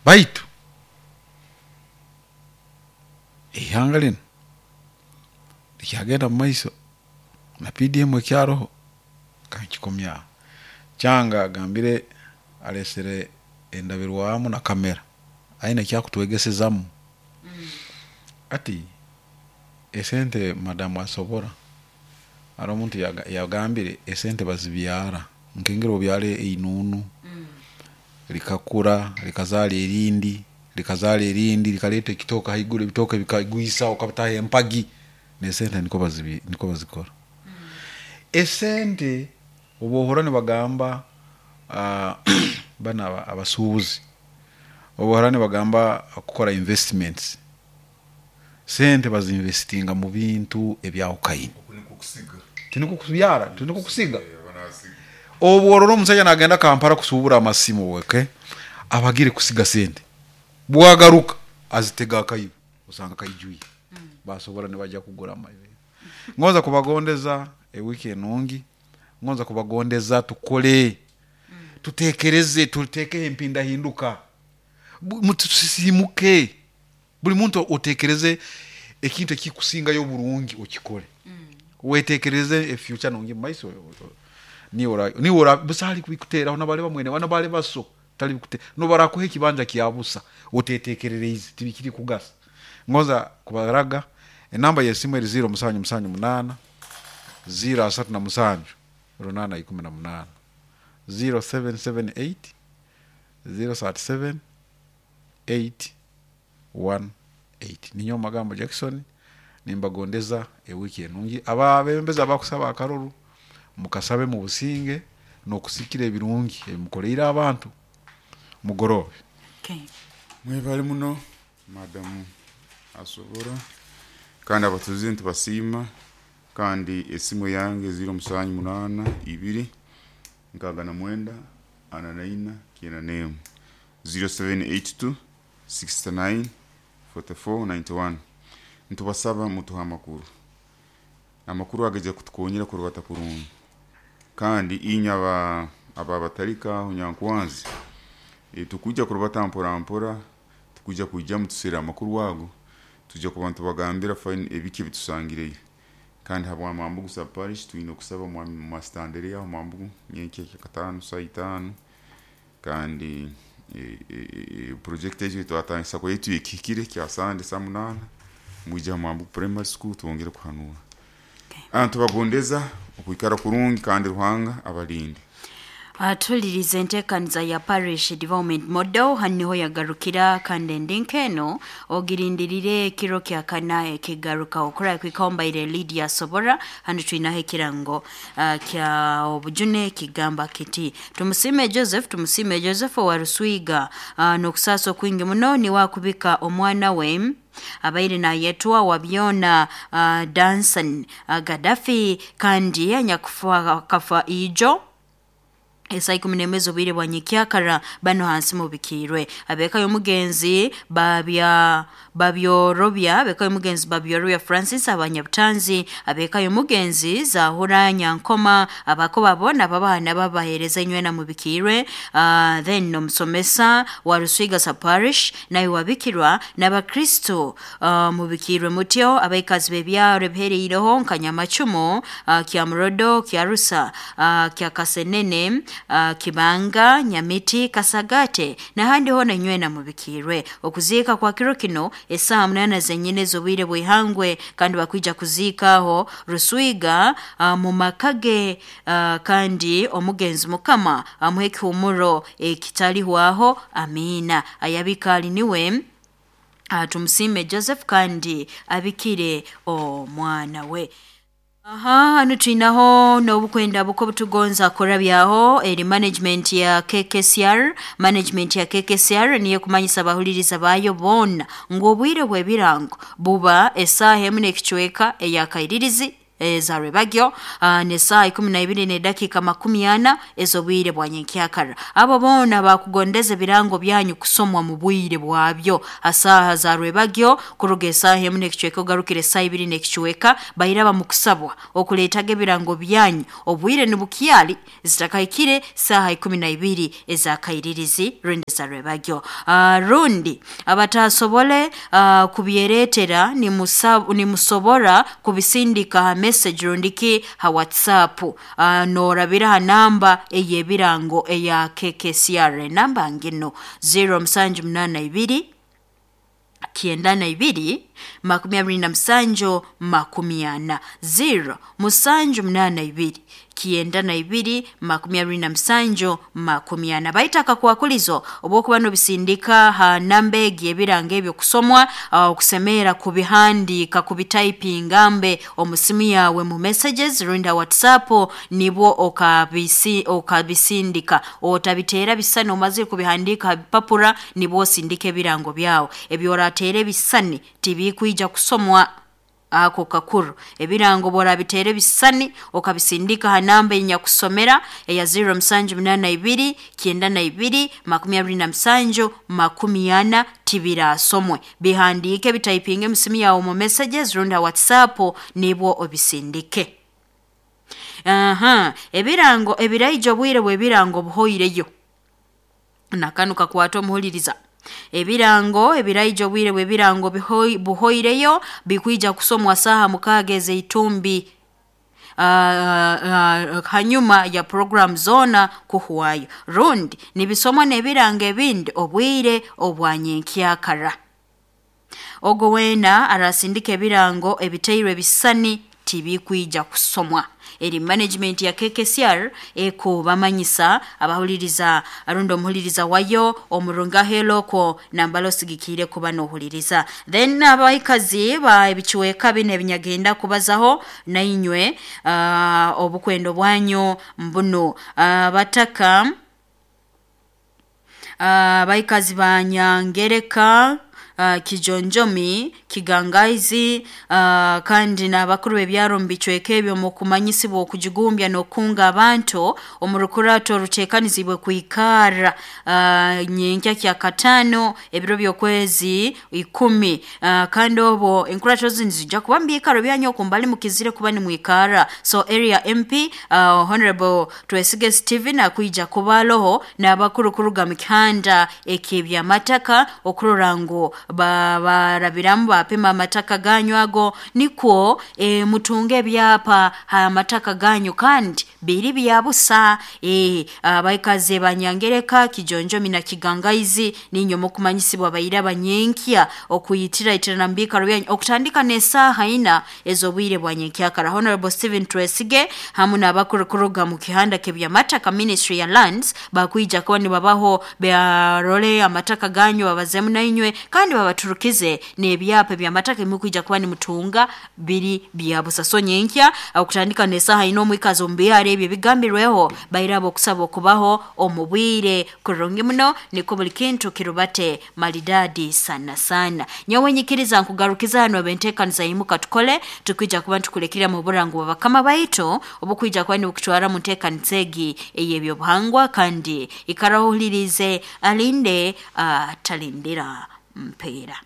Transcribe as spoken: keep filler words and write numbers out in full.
Baitu ihanga linu likyagenda mu maiso na P D M ekyaroho kankikomyaho. Kyanga agambire alesere endabirwamu na kamera aine ekyakutwegesezamu. Ati esente madamu asobora haro omuntu yagambire esente bazibyara nkengeri obyara einunu likakura likazara erindi likazara erindi likaleta ekitooke haiguru ebitooke bikagwisa okabitaho empagi n'esente nikwo bazibi nikwo bazikora. Esente obu ohurra nibagamba banu abasuubuzi obu ohurra nibagamba kukora investments, sente bazinvestinga mu bintu ebyahukaine. Tinukwo kubyara, tinukwo kusiga. Obu orora omusaija nagenda Kampala kusuubura amasimu, okay, aba agiire kusiga sente, bwagaruka azitega akaibo osanga kaijwire, basobora nibaija kugura. Ngonza kubagondeza ewiiki enungi, ngonza kubagondeza tukole, tuteekereze, tuteekeho empindahinduka, tusisiimuke, buri muntu oteekereze ekintu ekikusingayo oburungi okikore, weteekereze e future nungi mumaiso, niiwe niiwe busaho arikubikuteeraho nobu mwene wanyu nobu araba so nobu barakuha ekibanja kya busa oteteekereriize tibikukugasa. Ngonza kubaraga enamba y'esimu eri ziro musanju musanju munaana, ziro asatu na musanju, runaana ikumi na munaana, ziro seven seven eight, ziro thirty seven, eight one eight. Ninyowe Magambo Jackson nimbagondeza ewiiki enungi, abeebembezi abakusaba akaruru mukasabe mubusinge n'okusikira ebirungi ebi mukoleire abantu mugoroobe. Okay. Mwebale muno madamu asobora kandi abatuzi ntibasiima kandi esimu yange ziro musanju munaana ibiri nkaaga na mwenda ana na ina kyenda n'emu ziro seven eight two sixty nine forty four ninety one. Ntubasaba mutuhe amakuru, amakuru agaija kutukonyera kurubata kurungi kandi inywe aba ababatalika aho Nyankwanzi tukwija kurubata mpora mpora, tukwija kwijamu tuserre amakuru ago, twija kuba nitubagambira ebiki ebitusangireyo kandi habwa Mambugu sub parish twine okusaba Master Andereya aho Mambugu nyenkya kyakataano saaha itaano kandi project egi twatandisa yaitu ekihikire kya Sande saaha munaana mwije ha Mambugu primary school twongere kuhanura. Ntubagondeza okwikara kurungi kandi Ruhanga abalinde. Atulirize enteekaniza ya parish development model haniho yagarukira kandi endinkeno ogirindirire ekiro kya kana ekigaruka okura kwikombaire Lydia Sobora hanu twinaho ekirango uh, kya obujune kigamba kiti tumusime Joseph tumusime Joseph wa Ruswiga uh, n'okusaasa okwingi muno ni wakubika omwana we abaire nayetwa wabyona uh, Danson uh, Gaddafi kandi anyakufa kafa ijo esaa ikumi n'emwe z'obwire bwa nyikyakara bano hansi mubikirwe abeka y'omugenzi babya babyorobya abeka y'omugenzi babyorobya Francis abanyabutanzi abeka y'omugenzi Zahura Nyankoma abako babona babana babahereza inywena mubikirwe uh, then omusomesa wa Ruswiga sa parish nawe wabikirwa n'abakristo uh, mubikirwe mutyo abaikazi b'ebyaro ebihereireho nka Nyamacumu uh, kya Murodo kya Rusa uh, kya Kasenene Uh, Kibanga, Nyamiti, Kasagate n'ahandi hona inywena mubikirwe. Okuziika kwa kiro kino esaa munana zenyine z'obwire bw'ihangwe kandi bakwija kuziikaho Ruswiga uh, mu makage uh, kandi omugenzi Mukama amuhe ekihumuro ekitalihwaho amina. Ayabika ali niwe uh, tumusime Joseph kandi abikire omwana we. Aha, hanu twinaho n'obukwenda buko butugonza kurabyaho eri management ya K K C R. Management ya K K C R niyo kumanyisa abahuliriza bayo bona ngu obwire bw'ebirango buba esaaha emu n'ekicweka eyakairirizi Eza rwebagyo uh, ne saa ikumi na ibiri n'edakiika makumi ana ez'obwire bwa nyenkyakara. Abo boona bakugondeza ebirango byanyu kusomwa mu bwire bwabyo asaaha za rwebagyo kuruga esaaha emu n'ekicweka ogarukire esaaha ibiri n'ekicweka, bairaba mu kusabwa okuleetaga ebirango byanyu obwire nibukyali zitakahikire saaha ikumi na ibiri ez'akairirizi rundi za rwebagyo. Uh, rundi abatasobole uh, kubyereetera nimusobora kubisindika ha message rundiki ha WhatsApp, uh, norabira ha namba ey'ebirango eya K K C R, namba ngino zero musanju munana ibiri kienda na ibiri makumi abiri na musanju makumi ana, zero musanju munana ibiri kienda na ibiri makumi abiri na musanju makumi ana. Baitaka kwakulizo obwokuba nobisindika ha namba egi ebirango ebyo kusomwa, okusemera kubihandika kubitaipinga mbe omusimu yawe mu messages rundi WhatsApp nibwo okabisi okabisindika. Otabiteera bisani omazire kubihandika ha bipapura nibwo osindika ebirango byawe. Ebyorateera ebisani tibikwija kusomwa ako kakuru. Ebirango borabiteere bisani okabisindika ha namba enyakusomera eya zero musanju munana ibiri kienda na ibiri makumi abiri na musanju makumi ana tibirasomwe. Bihandike bitaipinge musimu yawe mu messages rundi WhatsApp nibwo obisindike. Aha, ebirango ebiraijo obwire bw'ebirango buhoireyo. Nakanu kakwata omuhuliriza. Ebirango ebiraijo obwire bw'ebirango buhoireyo bikwija kusomwa saha mukaaga ez'eitumbi uh, uh, hanyuma ya program zona kuhwayo, rundi nibisomwa n'ebirango ebindi obwire obwanyenkyakara. Ogo weena arasindika ebirango ebiteirwe ebisani tibikwija kusomwa. Eri management ya K K C R ekubamanyisa abahuliriza arundi omuhuliriza wayo omurunga heloko nambalo sigikire kuba nohuliriza. Then abaikazi ba ebichweka bine ebinyagenda kubazaho nainywe uh, obukwendo bwanyu mbuno uh, bataka abaikazi uh, ba Nyangereka, Uh, Kijonjomi, Kigangaizi, uh, kandi n'abakuru b'ebyaro mu bicweka ebyo mu kumanyisibwa okujigumbya n'okunga abantu omu rukurato oruteekanizibwe kwikara uh, nyenkya kya katano ebiro by'okwezi ikumi, uh, kandi obwo enkurato zinu zijja kuba mu biikaro byanyu okumbali mukizire kuba nimwikara. So area M P uh, Honorable Twesige Stephen akwija kubaloho n'abakuru kuruga mu kihanda eky'ebyamataka okurora ngu barabiramu bapima amataka ganyu ago nikwo e, mutunge ebyapa ha mataka ganyu kandi biri byabusa. E, abaikazi Banyangereka, Kijonjomi na Kigangaizi ninyo mukumanyisibwa bayira banyenkya okuyitira itirana mbikaro byanyu okutandika n'esaaha ina ez'obwire bwa nyenkyakara. Honorable Stephen Twesige hamu n'abakuru kuruga mu kihanda k'ebyamataka Ministry ya Lands bakwija kuba nibabaho barole amataka ganyu babazemu nainywe kandi babaturukize n'ebyapa by'amataka emukwija kuba nimutunga biri byabusa. So nyenkya okutandika n'esaaha ina omwikazi omu byaro ebyo bigambirweho bairabo okusaba okubaho omu bwire kurungi muno niko buli kintu kirubate maridadi sana sana. Nyowe nyikiriza nkugarukiza hano benteekaniza imuka tukole tukwija kuba ntukulekera mu burango bw'abakama baitu obukwija kuba nibukutwara mu nteekaniza egi ey'ebyobuhangwa kandi ikarahuhulirize alinde atalindira uh, mpera.